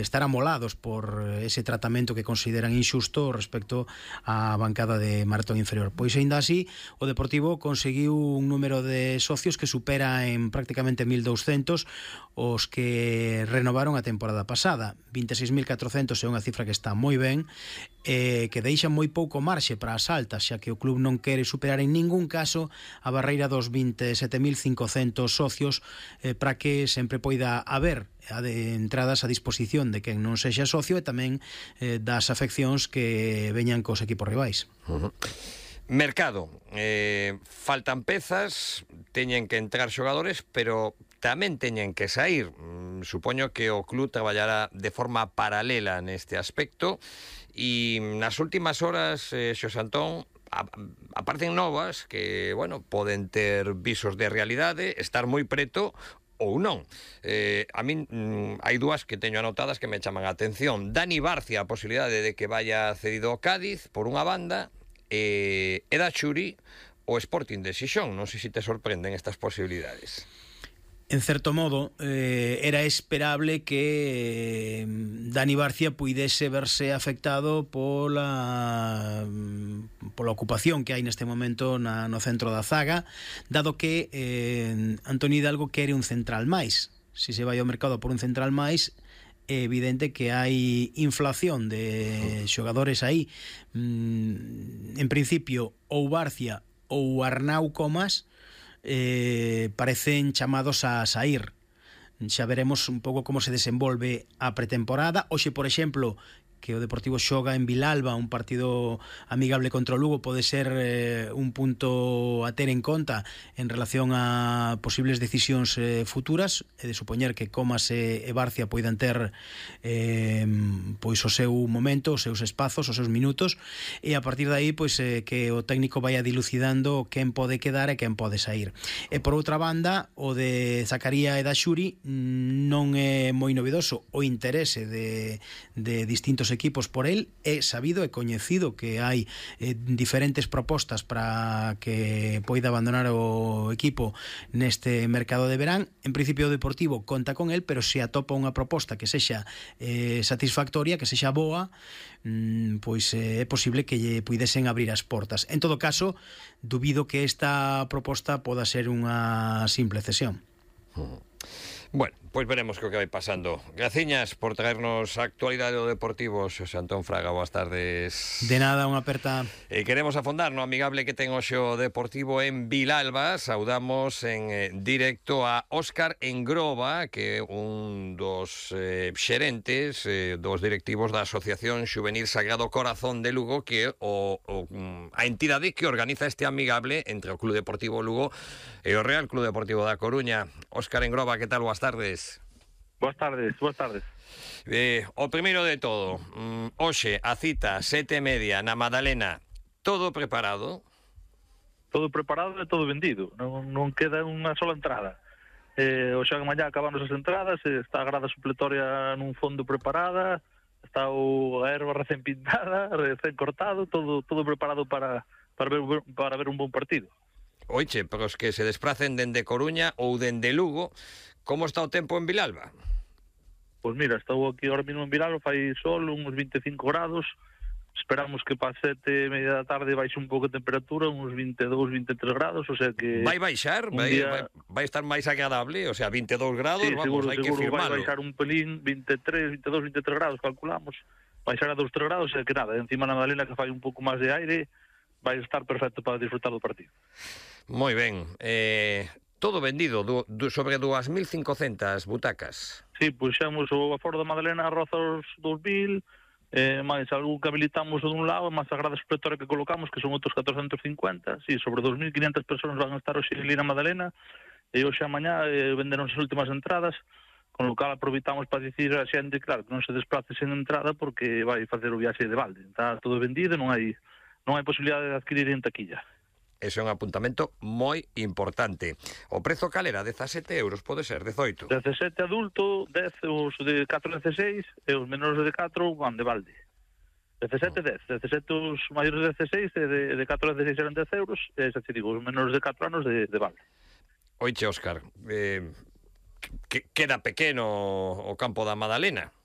estar amolados por ese tratamento que consideran injusto respecto á bancada de maratón inferior. Pois aínda así, o Deportivo conseguiu un número de socios que supera en prácticamente 1.200 os que renovaron a temporada pasada. 26.400 é unha cifra que está moi ben, que deixa moi pouco marxe para as altas, xa que o club non quere superar en ningún caso a barreira dos 27.500 socios, para que sempre poida haber de entradas a disposición de quen non sexa socio e tamén das afeccións que veñan cos equipos rivais. Mercado, faltan pezas, teñen que entrar xogadores, pero tamén teñen que sair. Supoño que o club traballará de forma paralela neste aspecto e nas últimas horas, Xosé Antón, aparecen novas que, bueno, poden ter visos de realidade, estar moi preto ou non. A min hai dúas que teño anotadas que me chaman a atención. Dani Barcia, a posibilidade de que vaya cedido ao Cádiz, por unha banda, Eda Churi o Sporting de Xixón. Non sei se te sorprenden estas posibilidades. En certo modo, era esperable que Dani Barcia puidese verse afectado pola ocupación que hai neste momento no centro da zaga, dado que Antoni Hidalgo quere un central máis. Se se vai ao mercado por un central máis, é evidente que hai inflación de xogadores aí. En principio, ou Barcia ou Arnau Comas parecen chamados a sair. Xa veremos un pouco como se desenvolve a pretemporada. Hoxe, por exemplo, que o Deportivo xoga en Vilalba, un partido amigable contra o Lugo, pode ser un punto a ter en conta en relación a posibles decisións futuras, e de supoñer que Comas e Barcia poidan ter pois o seu momento, os seus espazos, os seus minutos, e a partir de aí pois que o técnico vaya dilucidando quen pode quedar e quen pode sair. E por outra banda, o de Zacaría e da Xuri non é moi novedoso. O interese de distintos equipos por el é sabido e coñecido que hai diferentes propostas para que poida abandonar o equipo neste mercado de verán. En principio o Deportivo conta con el, pero se atopa unha proposta que sexa satisfactoria, que sexa boa, pois é posible que lle puidesen abrir as portas. En todo caso, dubido que esta proposta poda ser unha simple cesión. Bueno, pois veremos que o que vai pasando. Graciñas por traernos a actualidade do Deportivo, Xosé Antón Fraga, boas tardes. De nada, unha aperta. Queremos afondar no amigable que ten hoxe o Deportivo en Vilalba. Saudamos en directo a Óscar Engroba, que é un dos xerentes, dos directivos da Asociación Xuvenil Sagrado Corazón de Lugo, que é a entidade que organiza este amigable entre o Club Deportivo Lugo e o Real Club Deportivo da Coruña. Óscar Engroba, que tal? Boas tardes. Boas tardes, boas tardes. O primeiro de todo, hoxe a cita 7:30 na Madalena, todo preparado? Todo preparado e todo vendido, non queda unha sola entrada. Hoxe a mañá acabamos as entradas, está a grada supletoria nun fondo preparada, está a erva recén pintada, recén cortado, todo preparado para ver un bon partido. Oiche, pero os que se desplacen dende Coruña ou dende Lugo, como está o tempo en Vilalba? Pois mira, estou aquí ahora mesmo en Vilalba, fai sol, uns 25 grados, esperamos que para 7:30 da tarde baixe un pouco a temperatura, uns 22, 23 grados, o sea que... Vai baixar? Vai estar máis agradable? O sea, 22 grados, sí, vamos, hai que firmalo. Vai baixar un pelín, 23, 22, 23 grados, calculamos, baixar a 2, 3 grados, o sea que nada, encima na Madalena que fai un pouco máis de aire, vai estar perfecto para disfrutar do partido. Moi ben, todo vendido, sobre 2.500 butacas. Sí, puxemos o aforo da Madalena a roza os 2.000, máis algún que habilitamos dun lado, máis a grada supletoria que colocamos, que son outros 450, sí, sobre 2.500 persoas van a estar hoxe ali na Madalena, e hoxe a mañá venderon as últimas entradas, con lo cal aproveitamos para dicir a xente, claro, que non se desplace sen entrada porque vai facer o viaxe de balde. Está todo vendido, non hai posibilidade de adquirir en taquilla. Ese é un apuntamento moi importante. O prezo calera, 17 euros, pode ser, 18? 17 adulto, 10 os de 4 a 16, e os menores de 4 van de balde. 17, 10. 17 os maiores de 16, e de 4 a 16 eran 10 euros, e xa te digo, os menores de 4 anos de balde. Oiche, Óscar, queda pequeno o campo da Madalena.